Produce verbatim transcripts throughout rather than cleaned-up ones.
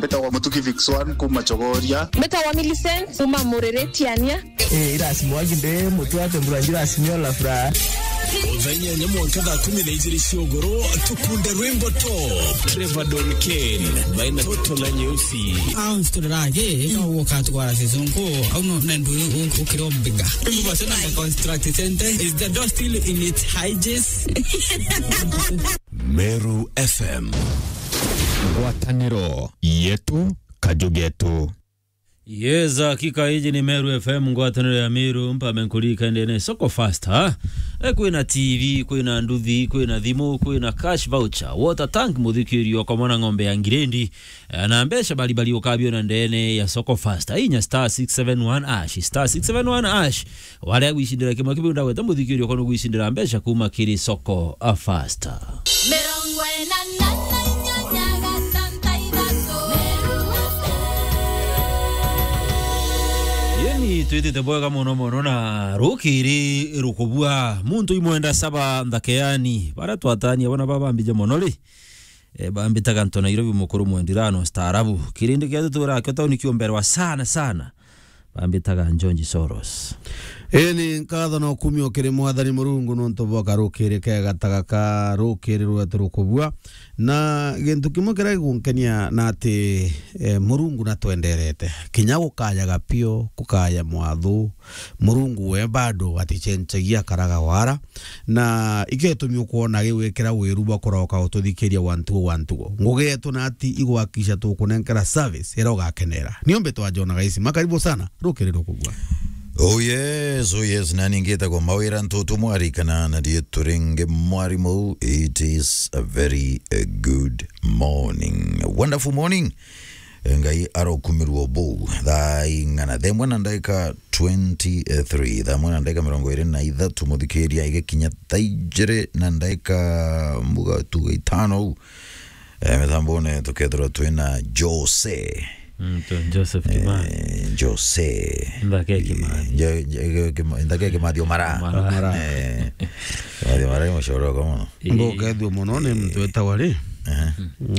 Mbitagwa Mutuki Vix one kuma Chogoria. Mbitagwa Millicent kuma Mureretiania. Eh, irasi mwangi nde mutu ate mbura njira simio la furaha. Thaa inyanya mwanka thaa kumi na ijiri cia ugoro, tukunde rwimbo top. Trevor Don Kane, baina Toto na Nyeusi. Au nsiturage, ika uka twara season ko, au no, na ndu u-, ukiro mbiga. Ndu basi na construct center, is the door still in its hinges? Meru F M. Ngwatanĩro yetu, kaju getu. Yes, hakika iji ni Meru F M, ngwatanĩro ya Meru, mpambe nkurika ndene soko fast, ha? E, kwina T V, kwina nduthi, kwina thimu, kwina cash voucher, water tank, muthikirio kwa mwana ng'ombe ya ngirendi, e, na mbeca baribari ukabiona ndene ya soko fast. Inya star six seven one hash, star six seven one hash. Wari agwicindira kimwe kiu ndagweta muthikirio kono gwicindira mbeca kuma kiri soko a fast. Mirongo ina na inyanya gatanta ithatu. Yeni, twitite bwega mono mono na rukiri rukubua. Muntu imwenda saba nthakeani. Bara twatania bona baba mbije mono ri. E, bambitaga nto Nairobi mukuru mwendirano staarabu. Kirindi kia tutura kio tauni kiomberwa sana sana. Bambitaga George Soros. Ii ni nkatho na ukumio kiri Mwathani Murungu nontu bwa karukiri kega ta gaka, rukiri rwetu rukubua. Na gintu kimwe kiria gigunkenia na ati, eh, Murungu natwenderete. Kinya gukayaga pio, gukaya mwathu, Murungu we bado aticencagia, akaraga wara. Na ikio gitumi ukwona gigwikira wiru bwa kuroka ututhikiria wa ntugo wa ntugo. Ngugi yetu na ati igwakisha tukunenkera service iria ugakenera. Nio mbitwa John Gaisima, karibu sana, rukiri rukubua. Oh yes, oh yes, nani ngitagwa Mawira Ntutu Mwari kana na ndiye turinge Mwari Mou. It is a very, uh, good morning. A wonderful morning. Ngai arokumirwo bou. Thaa ing'ana? Thaa imwe na ndaika twenty-three. Thaa imwe na ndaika mirongo iri na ithatu, muthikiria, igikinya thaa ijiri na ndaika mbuga tuga itano u. Eh, mitambone tukethirwa twina Jose. Mm, tu-, Joseph Kimani. Eh, Jose. Nthake Kimathi. Jo-, jo-, Kima-, Nthake Kimathi Omara. Omara. Omara. Eh, Kimathi Omara ni mucoro kwa muno. Ii. Ngukethua muno ni muntu wetagwa ri? Aha.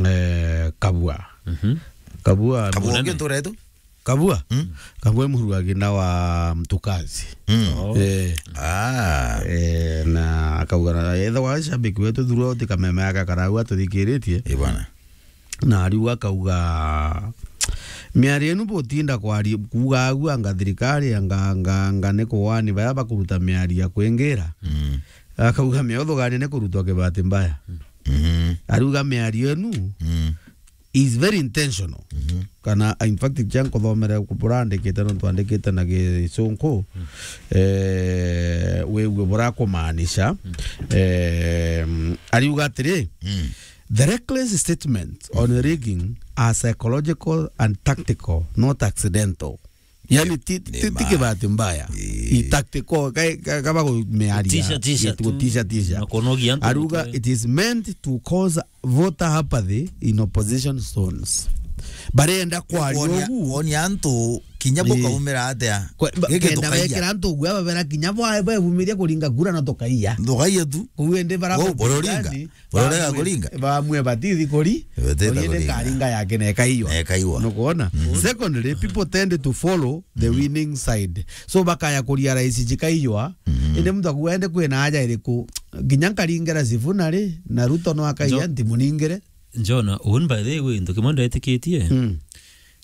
Eh, Kabua. Mhm. Kabua. Kabua munene. Ungi ntura yetu? Kabua? Mm. Kabua i muruagi na wa Mtukazi. Mm. Oh. Eh. Ah. Eh, na akauga na, ethagwa shabiki wetu throughout kameme yake akarau atuthikiritie. Ii bwana. Na ariu akauga, miario inu butinda kwari-, kuuga agu anga thirikari, anga, anga, anga ni kuwani baya bakuruta miario ya kwingira. Mm. Akauga miotho gani ni kurutwa kibati mbaya. Mhm. Ariuga miario inu Mm. is very intentional. Mhm. Kana, in fact, cia nkuthomere burandikite nontu andikite na Gicunku, Mm. eh, wigue burakumaanisha. Mm. Eh, ariuga atiri, Mm. the reckless statements on rigging are psychological and tactical, not accidental. Yani, ti, ti, ti kibati mbaya. Ii. I tactical, ka, ka, kaba kumearia. Tisha, tisha tu. Tisha, tisha. Na kunogia antu. Aruga, mutwe. It is meant to cause voter apathy in opposition zones. Barenda kwaria kuonia, ugu. Kuonia antu kinya bukaumira atia. Kwe-, ba-, giki kenda tukaiya. Bekira antu ugu, ababera kinya bwa-, bebumiria kuringa kura na tukaiya. Tukaiya tu. Kuu indi bara Bo-, bororinga. Bamwe, bamwe batithi kuri, batithi kuri, indi nkaringa yake na ikaiywa. Na ikaiywa. Nukwona? Mhm. Secondly, people tend to follow the winning side. So bakaya kuria rais jikaiywa, mhm, indi muntu akuga ende kwina aja iriku? Nginya nkaringera Sifuna ri, na Ruto no akaiya, ntimuningire. Njona, un by the way, ntu kimwe ndetikitie. Mm.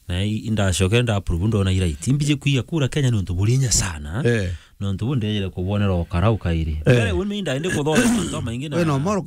Na i-, indacoke nda approve ndona i right. Imbiji kwiya kura Kenya nontu burinya sana. Eh. Nontu bu ndejere kubonera ukara ukairi. Eh. Mbere, we mi ndaende kuthoma mantu maingi na we no moro